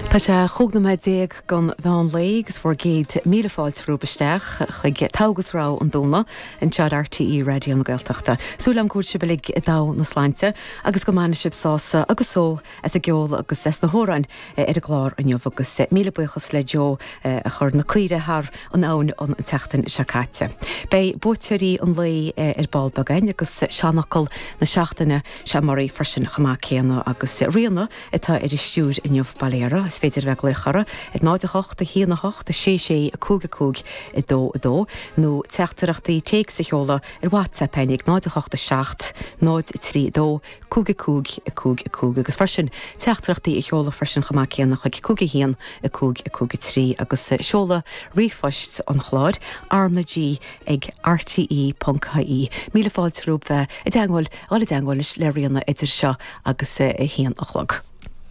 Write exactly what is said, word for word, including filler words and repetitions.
Tá sé chúig nóiméad déag don mheán lae agus bhur gcéad míle fáilte romhaibh isteach chuig Togha agus Rogha an Domhnaigh anseo ar RTÉ Raidió na Gaeltachta. Súil agam go bhfuil sibh uilig i dtogha na sláinte agus go mbainfidh sibh sásamh agus só as an gceol agus as na hamhráin ar an gclár inniu agus míle buíochas le Joe a chuir na caoirigh thar an abhainn an tseachtain seo caite. Beidh buaiteoirí an lae ar ball beagáin agus seanfhocal na seachtaine sé maraí freisin chomh maith céanna agus Ríona atá ar an stiúir inniu bail uirthi. Is féidir bheith glaoch uirthi ar náid a hocht a haon a hocht a sé sé a cúig a cúig a dó a dó nó teachtaireachtaí téacs a sheoladh ar WhatsApp ag náid a hocht a seacht náid a trí dó cúig a cúig a cúig a cúig agus freisin teachtaireachtaí a sheoladh freisin chomh maith céanna chuig cúig a haon a cúig a cúig a trí agus seoladh ríomhphoist an chláir RnaG ag RTE.ie. Míle fáilte romhaibh bheith i dteagmháil i dteagmháil le Ríona idir seo agus a haon a chlog.